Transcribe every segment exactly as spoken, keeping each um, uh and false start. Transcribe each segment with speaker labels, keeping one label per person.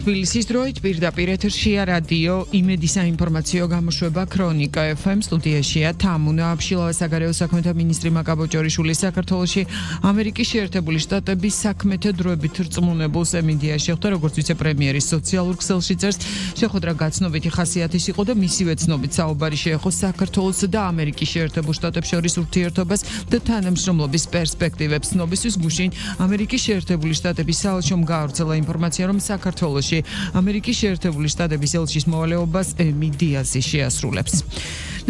Speaker 1: თბილისის დროით პირდაპირ ეთერშია რადიო იმედი საინფორმაციო გამოშვება ქრონიკა ეფ ემ სტუდიაშია თამუნა აბშილავა საგარეო საქმეთა მინისტრი მაკაბოჭორიშვილი საქართველოში ამერიკის შეერთებული შტატების საქმეთა დროებით რწმუნებულ სემინდიაში ხვდა როგორც ვიცე-პრემიერის სოციალურ ქსელში წერს შეხვედრა გაცნობიტი ხასიათის იყო და მისივე ცნობით საუბარი შეეხო საქართველოს და ამერიკის შეერთებულ შტატებს შორის ურთიერთობას და თანამშრომლობის პერსპექტივებს ცნობისთვის გუშინ ამერიკის შეერთებული შტატების საელჩომ გაავრცელა ინფორმაცია რომ საქართველოს ამერიკის შეერთებული შტატების ელჩის მოვალეობას ემი დიაზი შეასრულებს.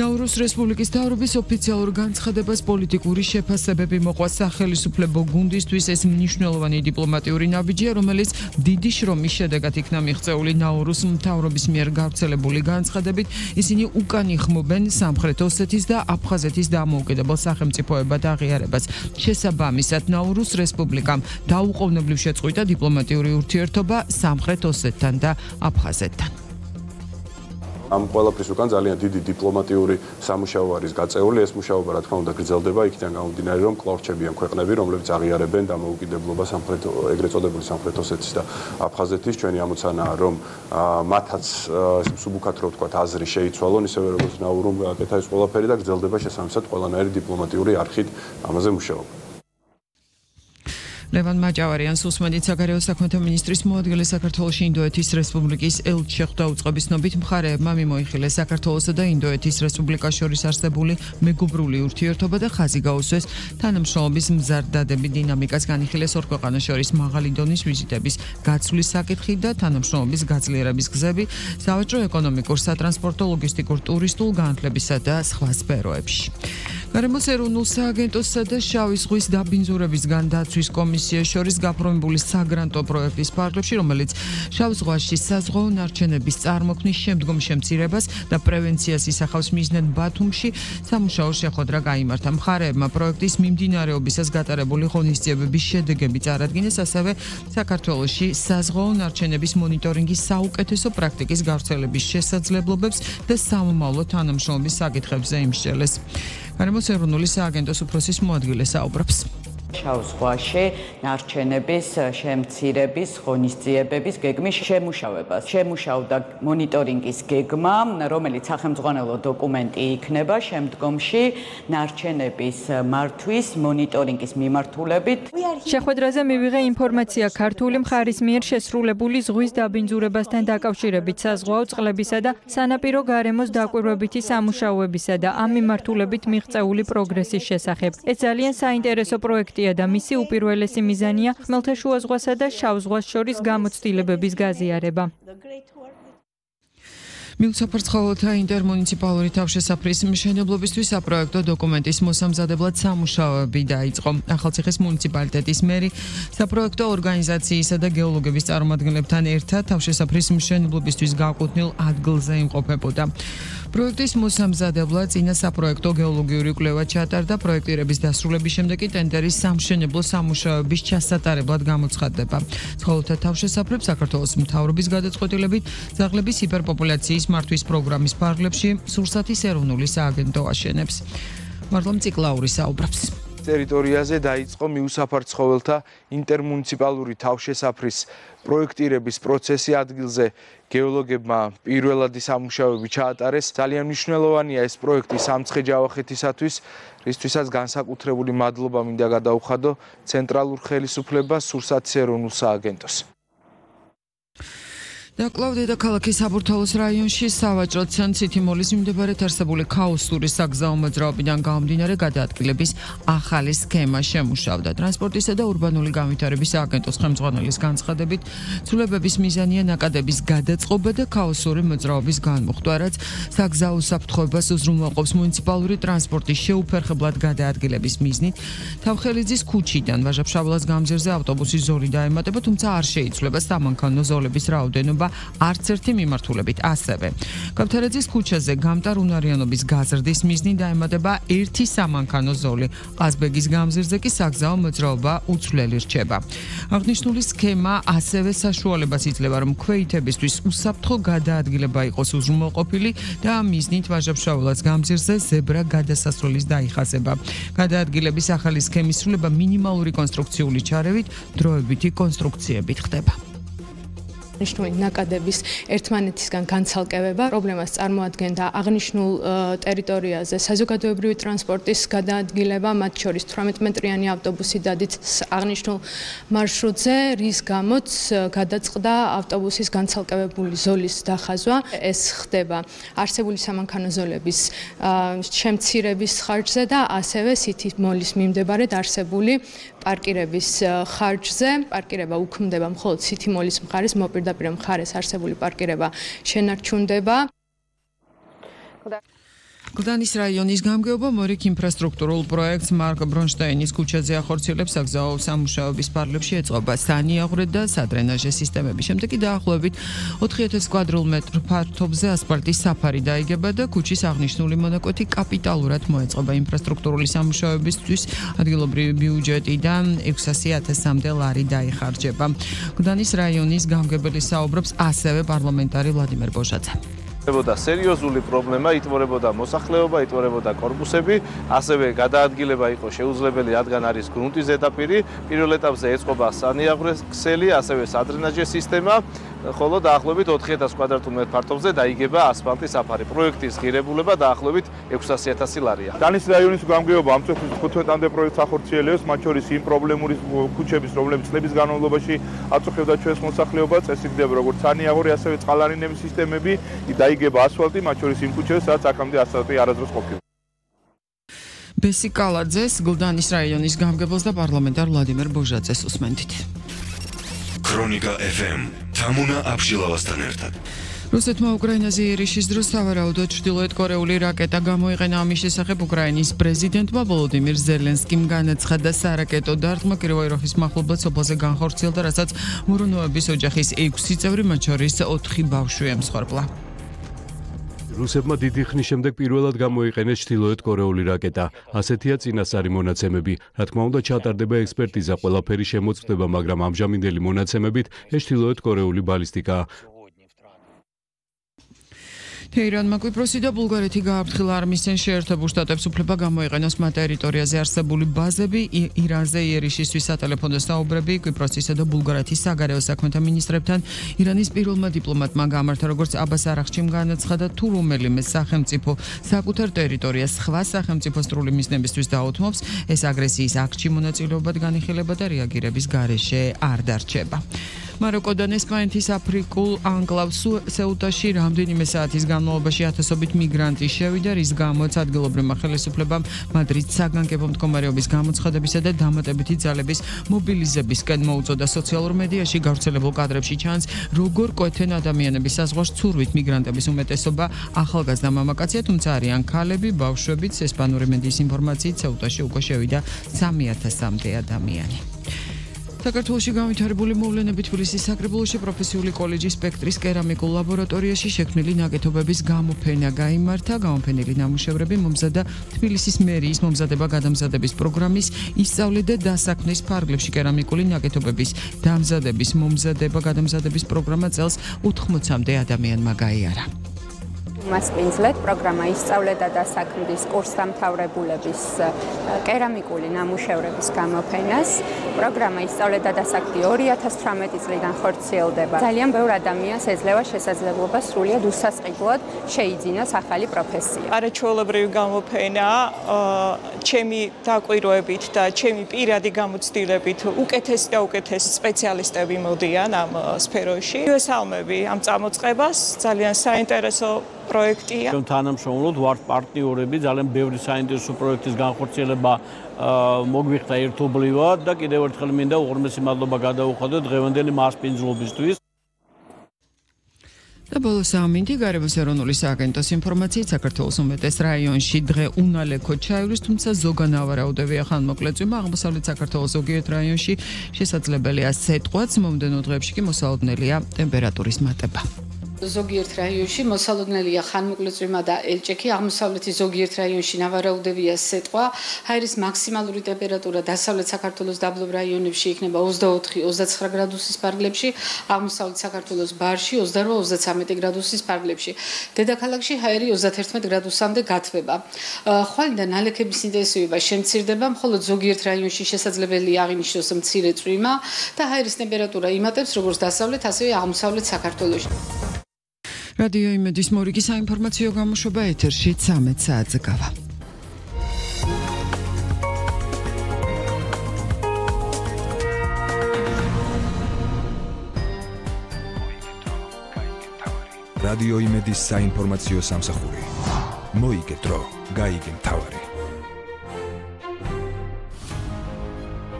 Speaker 1: ნაურუს რესპუბლიკის მთავრობის ოფიციალურ განცხადებას პოლიტიკური შეფასებები მოყვა სახელმწიფო გუნდისთვის ეს მნიშვნელოვანი დიპლომატიური ნაბიჯია, რომელიც დიდი შრომის შედეგად იქნა მიღწეული ნაურუს მთავრობის მიერ გავრცელებული განცხადებით. ისინი უკან იხმობენ სამხრეთ ოსეთის და აფხაზეთის დამოუკიდებელ სახელმწიფოებად აღიარებას. შესაბამისად, ნაურუს რესპუბლიკამ დაუყოვნებლივ შეწყვიტა დიპლომატიური ურთიერთობა სამხრეთ ოსეთთან და აფხაზეთთან.
Speaker 2: ამ ყველაფრის უკან ძალიან დიდი დიპლომატიური სამუშაო არის გაწეული. ეს მუშაობა რა თქმა უნდა გრძელდება იქიდან გამომდინარე რომ კვლავ რჩებიან ქვეყნები რომლებიც აღიარებენ დამოუკიდებლობა სამხრეთ ეგრეთ წოდებული სამხრეთ ოსეთის და აფხაზეთის. ჩვენი ამოცანაა რომ მათაც მსუბუქად რო ვთქვათ აზრი შეიცვალონ ისევე როგორც ნაურუმ გააკეთა ეს ყველაფერი და გრძელდება შესაბამისად ყველანაირი დიპლომატიური არხით ამაზე მუშაობა.
Speaker 1: ლევან მაჭავარიანს უსმენთ საგარეო საქმეთა მინისტრის მოადგილე საქართველოში ინდოეთის რესპუბლიკის ელჩი შეხვდა უწყების ნობით მხარეებმა მიმოიხილეს საქართველოსა და ინდოეთის რესპუბლიკას შორის არსებული მეგობრული ურთიერთობა და ხაზი გაუსვეს თანამშრომლობის მზარდადები დინამიკას განიხილეს ორ ქვეყანას შორის მაღალი დონის ვიზიტების გაცვლის საკითხი და თანამშრომლობის გაძლიერების გზები სავაჭრო ეკონომიკურ სატრანსპორტო ლოგისტიკურ ტურისტულ განათლებისა და სხვა სფეროებში. გარემოს ეროვნულ სააგენტოსა და შავი ზღვის დაბინძურებისგან დაცვის კომისიას შორის გაფორმებული საგრანტო პროექტის ფარგლებში, რომელიც შავ ზღვაში საზღვაო ნარჩენების წარმოქმნის შემდგომ შემცირებას და პრევენციას ისახავს მიზნად ბათუმში სამუშაო შეხვედრა გაიმართა. მხარეებმა პროექტის მიმდინარეობისას გატარებული ღონისძიებების შედეგები წარადგინეს, ასევე საქართველოში საზღვაო ნარჩენების მონიტორინგის საუკეთესო პრაქტიკის გავრცელების შესაძლებლობებს და სამომავლო თანამშრომლობის საკითხებზე იმსჯელეს. გარემოს ეროვნული სააგენტოს უფროსის მოადგილე საუბრობს.
Speaker 3: შავ ზღვაში ნარჩენების შემცირების ღონისძიებების გეგმის შემუშავებას. შემუშავდა მონიტორინგის გეგმა, რომელიც სახელმძღვანელო დოკუმენტი იქნება შემდგომში ნარჩენების მართვის მონიტორინგის მიმართულებით.
Speaker 4: შეხვედრაზე მივიღე ინფორმაცია ქართული მხარის მიერ შესრულებული ზღვის დაბინძურებასთან დაკავშირებით საზღვაო წყლებისა და სანაპირო გარემოს დაკვირვებითი სამუშაოებისა და ამ მიმართულებით მიღწეული პროგრესის შესახებ. ეს ძალიან საინტერესო პროექტია და მისი უპირველესი მიზანია ხმელთაშუა ზღვასა და შავ ზღვას შორის გამოცდილებების გაზიარება.
Speaker 1: მილსაფარცხალოთა ინტერმუნიციპალური თავშესაფრის მშენებლობისთვის საპროექტო დოკუმენტის მოსამზადებლად სამუშაოები დაიწყო. ახალციხის მუნიციპალიტეტის მერი საპროექტო ორგანიზაციისა და გეოლოგების წარმომადგენლებთან ერთად თავშესაფრის მშენებლობისთვის გააკუთვნილ ადგილზე იმყოფებოდა. პროექტის მოსამზადებლად წინა საპროექტო გეოლოგიური კვლევა ჩატარდა. პროექტირების დასრულების შემდეგ კი ტენდერის სამშენებლო სამუშაოების ჩასატარებლად გამოცხადდება. ცხოველთა თავშესაფრებს საქართველოს მთავრობის გადაწყვეტილებით ძაღლების ჰიპერპოპულაციის მართვის პროგრამის ფარგლებში სურსათის ეროვნული სააგენტო აშენებს. მართლამ ციკლაური საუბრობს.
Speaker 5: ტერიტორიაზე დაიწყო მიუსაფარ ცხოველთა ინტერმუნიციპალური თავშესაფრის პროექტირების პროცესი ადგილზე გეოლოგებმა პირველადი სამუშაოები ჩაატარეს. ძალიან მნიშვნელოვანია ეს პროექტი სამცხე-ჯავახეთისათვის, რისთვისაც განსაკუთრებული მადლობა მინდა გადაუხადო ცენტრალურ ხელისუფლებას, სურსათის ეროვნულ სააგენტოს.
Speaker 1: დაკლავდა დედაქალაქის საბურთალოს რაიონში სავაჭრო ცენტრ სითიმოლის მიმდებარედ არსებული ქაოსური საგზაო მოძრაობიდან გამომდინარე გადაადგილების ახალი სქემა შემუშავდა. ტრანსპორტისა და ურბანული განვითარების სააგენტოს ხელმძღვანელის განცხადებით, ცვლილებების მიზანია ნაკადების გადაწყობა და ქაოსური მოძრაობის განმუხტვა, რაც საგზაო საფრთხეობას უზრუნველყოფს მუნიციპალური ტრანსპორტის შეუფერხებლად გადაადგილების მიზნით. თავხელიძის ქუჩიდან ვაჟა-ფშაველას გამზირზე ავტობუსის ზოლი დაემატება, თუმცა არ შეიცვლება სამანქანო ზოლების რაოდენობა არც ერთი მიმართულებით. ასევე გავთარაძის ქუჩაზე გამტარუნარიანობის გაზრდის მიზნით დაემატება ერთი სამანქანო ზოლი. ყაზბეგის გამზირზე კი საგზაო მოძრაობა უცვლელი რჩება. აღნიშნული სქემა ასევე საშუალებას იძლევა, რომ ქვეითებისთვის უსაფრთხო გადაადგილება იყოს უზრუნველყოფილი და ამ მიზნით ვაჟა-ფშაველას გამზირზე ზებრა გადასასვლელის დაიხაზება. გადაადგილების ახალი სქემის სრულება მინიმალური კონსტრუქციული ჩარევით, დროებითი კონსტრუქციებით ხდება.
Speaker 6: აღნიშნული ნაკადების ერთმანეთისგან განცალკევება პრობლემას წარმოადგენდა აღნიშნულ ტერიტორიაზე საზოგადოებრივი ტრანსპორტის გადაადგილება, მათ შორის თვრამეტ მეტრიანი ავტობუსი დადით აღნიშნულ მარშრუტზე, რის გამოც გადაწყდა ავტობუსის განცალკევებული ზოლის დახაზვა. ეს ხდება არსებული სამანქანო ზოლების შემცირების ხარჯზე და ასევე City Mall-ის მიმდებარედ არსებული პარკირების ხარჯზე. პარკირება უქმდება მხოლოდ City Mall-ის მხარეს, მოპირდაპირ მხარეს არსებული პარკირება შენარჩუნდება.
Speaker 1: გლდანის რაიონის გამგეობა მორიგ ინფრასტრუქტურულ პროექტს მარკ ბრონშტაინის ქუჩაზე ახორციელებს საგზაო სამუშაოების პარლებში ეწყობა სანიაღვრე და სადრენაჟე სისტემები. შემდეგ კი დაახლოებით ოთხი ათას კვადრატულ მეტრ ფართობზე ასფალტის საფარი დაიგება და ქუჩის აღნიშნული მონაკვეთი კაპიტალურად მოეწყობა. ინფრასტრუქტურული სამუშაოებისთვის ადგილობრივი ბიუჯეტიდან ექვსასი ათასამდე ლარი დაიხარჯება. გლდანის რაიონის გამგებელი საუბრობს ასევე პარლამენტარი ვლადიმერ ბოჟაძე.
Speaker 7: იტვორებოდა სერიოზული პრობლემა, იტვორებოდა მოსახლეობა, იტვორებოდა კორპუსები, ასევე გადაადგილება იყო შეუძლებელი, რადგან არის გრუნტის ზედაპირი. პირველ ეტაპზე ეწყობა სანიაღვრე ქსელი, ასევე სადრენაჟე სისტემა, ხოლო დაახლოებით ოთხი ათას კვადრატულ მეტრ ფართობზე დაიგება ასფალტის საფარი. პროექტის ღირებულება დაახლოებით ექვსასი ათასი ლარია.
Speaker 8: გლდანის რაიონის გამგეობა ამ წელს ხუთ წლამდე პროექტს ახორციელებს, მათ შორის იმ პრობლემური ქუჩების, რომლებიც წლების განმავლობაში აწუხებდა ჩვენს მოსახლეობას, ეს იქნება როგორც სანიაღვრე, ასევე წყალარინების სისტემები, დაიგება ასფალტი, მათ შორის იმ ქუჩებს, სადაც აქამდე ასფალტი არასდროს ყოფილა.
Speaker 1: ბესი კალაძეს, გლდანის რაიონის გამგებელს და პარლამენტარ ვლადიმერ ბოჟაძეს უსმენთ.
Speaker 9: ქრონიკა ეფ ემ თამუნა აბშილავასთან ერთად.
Speaker 1: რუსეთმა უკრაინაზე იერიშის დროს სავარაუდოდ ჩრდილოეთ კორეული რაკეტა გამოიყენა. ამის შესახებ უკრაინის პრეზიდენტმა ვოლოდიმირ ზელენსკიმ განაცხადა, სარაკეტო დარტყმა კიროვოიროვის მახლობლად სოფელზე განხორციელდა, რასაც მურონოების ოჯახის ექვსი წევრი, მათ შორის ოთხი ბავშვი ემსხვერპლა.
Speaker 10: რუსებმა დიდი ხნის შემდეგ პირველად გამოიყენეს ჩრდილოეთ კორეული რაკეტა. ასეთია წინასწარი მონაცემები. რა თქმა უნდა, ჩატარდება ექსპერტიზა, ყველაფერი შემოწმდება, მაგრამ ამჟამინდელი მონაცემებით ეს ჩრდილოეთ კორეული ბალისტიკაა.
Speaker 1: თეირანმა კვიპროსი და ბულგარეთი გააფრთხილა არმისცენ შეერთებულ შტატებს უფლება გამოიყენოს მათ ტერიტორიაზე არსებული ბაზები. ირანზე იერიშისთვის სატელეფონო საუბრები კვიპროსისა და ბულგარეთის საგარეო საქმეთა მინისტრებთან ირანის პირველმა დიპლომატმა გამართა, როგორც აბას არაღჩიმ განაცხადა, თუ რომელიმე სახელმწიფო საკუთარ ტერიტორიას სხვა სახელმწიფოს სრული მიზნებისთვის დაუთმობს, ეს აგრესიის აქტში მონაწილეობად განიხილება და რეაგირების გარეშე არ დარჩება. მაროკოდან ესპანეთის აფრიკულ ანკლავ სეუტაში რამდენიმე საათის განმავლობაში ათასობით მიგრანტი შევიდა, რის გამოც ადგილობრივმა ხელისუფლებამ მადრიდს საგანგებო მდგომარეობის გამოცხადებისა და დამატებითი ძალების მობილიზებისკენ მოუწოდა. სოციალურ მედიაში გავრცელებულ კადრებში ჩანს, როგორ კვეთენ ადამიანების საზღვარს ცურვით. მიგრანტების უმეტესობა ახალგაზრდა მამაკაცია, თუმცა არიან ქალები, ბავშვებიც. ესპანური მედიის ინფორმაციით სეუტაში უკვე შევიდა სამი ათასამდე ადამიანი. საქართველოში განვითარებული მოვლენები თბილისის საკრებულოში პროფესიული კოლეჯის სპექტრის კერამიკულ ლაბორატორიაში შექმნილი ნაკეთობების გამოფენა გაიმართა. გამოფენილი ნამუშევრები მომზადა თბილისის მერიის მომზადება-გადამზადების პროგრამის ისწავლე და დასაქმნის ფარგლებში. კერამიკული ნაკეთობების დამზადების მომზადება-გადამზადების პროგრამა წელს ოთხმოცამდე ადამიანმა გაიარა.
Speaker 11: მასპინძლეთ პროგრამა ისწავლე და დასაქმნის კურსდამთავრებულების კერამიკული ნამუშევრების გამოფენას. პროგრამა ისწავლე და დასაქმდი ორი ათას თვრამეტი წლიდან ხორციელდება. ძალიან ბევრ ადამიანს ეძლევა შესაძლებლობა სრულიად უსასყიდლოდ შეიძინოს ახალი პროფესია.
Speaker 12: არაჩვეულებრივი გამოფენა, ჩემი დაკვირვებით და ჩემი პირადი გამოცდილებით უკეთესი და უკეთესი სპეციალისტები მოდიან ამ სფეროში. მივესალმები ამ წამოწყებას, ძალიან საინტერესო პროექტია.
Speaker 13: ჩვენ თანამშრომლობთ, ვართ პარტნიორები, ძალიან ბევრი საინტერესო პროექტის განხორციელება მოგვიხდა ერთობლივად და კიდევ ერთხელ მინდა უღრმესი მადლობა გადაუხადო დღევანდელი მასპინძლობისთვის.
Speaker 1: და ბოლო სამინთი გარემოს ეროვნული სააგენტოს ინფორმაციით საქართველოს უმეტეს რაიონში დღე უნალექო ჩაივლის, თუმცა ზოგანავარაუდებია ხანმოკლე წვიმა. აღმოსავლეთ საქართველოს ზოგიერთ რაიონში შესაძლებელია სეტყვაც, მომდევნო დღეებში კი მოსალოდნელია ტემპერატურის მატება.
Speaker 14: ზოგიერთ რაიონში მოსალოდნელია ხანმოკლეწვიმა და ელჭექი, აღმოსავლეთის ზოგიერთ რაიონში ნავარაუდევია სეტყვა, ჰაერის მაქსიმალური ტემპერატურა დასავლეთ საქართველოს დაბლობ რაიონებში იქნება ოცდაოთხი ოცდაცხრა გრადუსის ფარგლებში, აღმოსავლეთ საქართველოს ბარში ოცდარვა ოცდაცამეტი გრადუსის ფარგლებში. დედაქალაქში ჰაერი ოცდაათერთმეტ გრადუსამდე გათბება. ხვალ და ნალექების ინტენსივობა შემცირდება, მხოლოდ ზოგიერთ რაიონში შესაძლებელია აღინიშნოს მცირე წვიმა და ჰაერის ტემპერატურა იმატებს როგორც დასავლეთ, ასევე აღმოსავლეთ საქართველოში.
Speaker 1: რადიო იმედის მორიგი საინფორმაციო გამოშვება ეთერში ცამეტ საათზე გავა.
Speaker 15: რადიო იმედის საინფორმაციო სამსახური. მოიგეთ დრო, გაიგე მთავარი.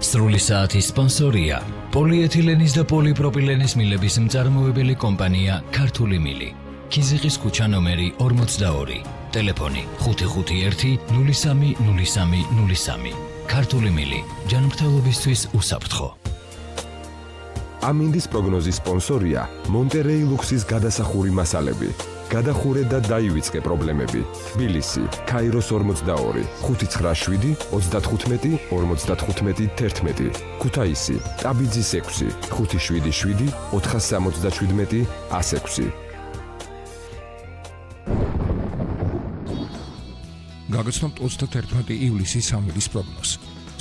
Speaker 16: სრული საათის სპონსორია პოლიეთილენის და პოლიპროპილენის მილების მწარმოებელი კომპანია ქართული მილი. ქიზიყის ქუჩა ნომერი ორმოცდაორი. ტელეფონი ხუთი ხუთი ერთი ნული სამი ნული სამი ნული სამი. ქართული მილი. ჯანმრთელობისთვის უსაფრთხო.
Speaker 17: ამინდის პროგნოზის სპონსორია მონტერეი ლუქსის გადასახური მასალები. გადახურე და დაივიწყე პრობლემები. თბილისი, ქაიროს ორმოცდაორი, ხუთი ცხრა შვიდი ოცდათხუთმეტი ორმოცდათხუთმეტი თერთმეტი. ქუთაისი, ტაბიძის ექვსი, ხუთი შვიდი შვიდი ოთხასამოცდაშვიდმეტი ასექვსი.
Speaker 18: გაგაცნობთ ოცდათერთმეტი ივლისის სამინდის პროგნოზს.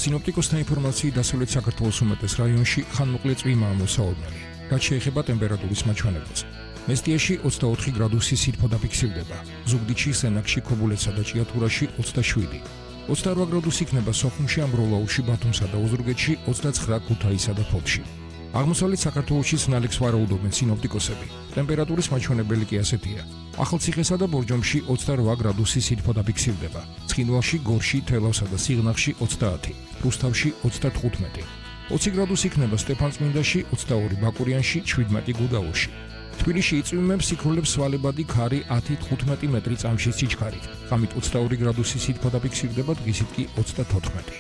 Speaker 18: სინოპტიკოსთა ინფორმაციით დასავლეთ საქართველოს უმეტეს რაიონში ხანმოკლე წვიმაა მოსაოდნელი, რაც შეეხება ტემპერატურის მაჩვენებელს. მესტიაში ოცდაოთხი გრადუსი სითბო დაფიქსირდება, ზუგდიდში, სენაკში, ქობულეთსა და ჭიათურაში ოცდაშვიდი. ოცდარვა გრადუსი იქნება სოხუმში, ამბროლაურში, ბათუმსა და ოზურგეთში, ოცდაცხრა ქუთაისსა და ფოთში. აღმოსავლეთ საქართველოში ნალექს ვარაუდობენ სინოპტიკოსები. ტემპერატურის მაჩვენებელი კი ასეთია. ახალციხესა და ბორჯომში ოცდარვა გრადუსი სითბო დაფიქსირდება, ცხინვალში, გორში, თელავსა და სიღნაღში ოცდაათი, რუსთავში ოცდათხუთმეტი. ოცი გრადუსი იქნება სტეფანწმინდაში, ოცდაორი ბაკურიანში, შვიდმეტი გუდაურში. თბილისში იწვიმებს სიქრულებს სვალებადი ქარი ათი თხუთმეტი მეტრი წამში სიჩქარით. ღამით ოცდაორი გრადუსი სითბო დაფიქსირდება, დღისით კი ოცდათოთხმეტი.